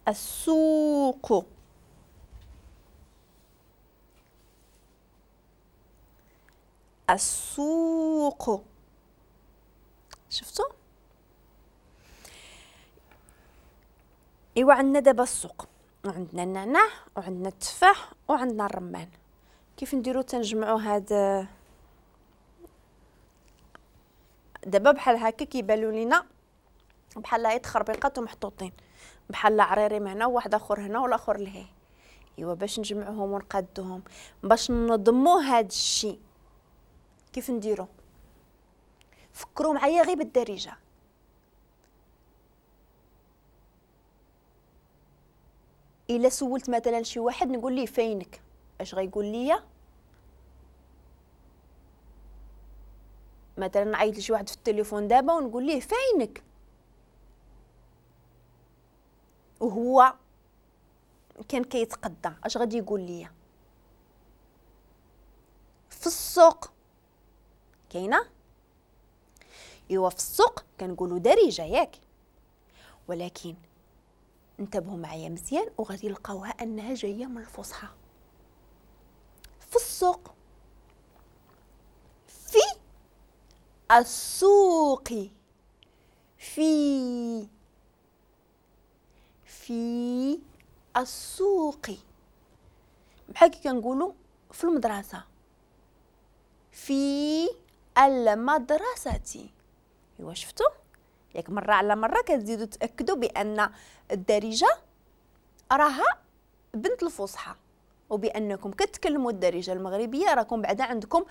السوق. السوق. شفتوا؟ ايوا عندنا دابا السوق، وعندنا النعناع، وعندنا التفاح، وعندنا الرمان. كيف نديرو تنجمعو هاد دابا بحال هكا كيبانو لينا بحال هاي تخربيقات ومحطوطين، بحال عريري هنا وواحد اخر هنا والاخر لهيه. ايوا باش نجمعوهم ونقادوهم باش ننظمو هاد الشيء كيف نديرو؟ فكروا معايا غير بالدارجة. الا سولت مثلا شي واحد نقول ليه فينك، اش غيقول ليا؟ مثلا نعيط لشي واحد في التليفون دابا ونقول ليه فينك، وهو كان كيتقدى، اش غادي يقول ليا؟ في السوق. كاينه؟ ايوا في السوق كنقولوا دارجه ياك، ولكن انتبهوا معايا مزيان وغادي نلقاوها انها جاية من الفصحى. في السوق، في السوق، في في السوق، بحال كي كنقولوا في المدرسة، في المدرسة. ايوا شفتوا؟ ياك مرة على مرة كتزيدوا تاكدوا بان الدارجة راها بنت الفصحى، وبانكم كتكلموا الدارجة المغربية راكم بعدا عندكم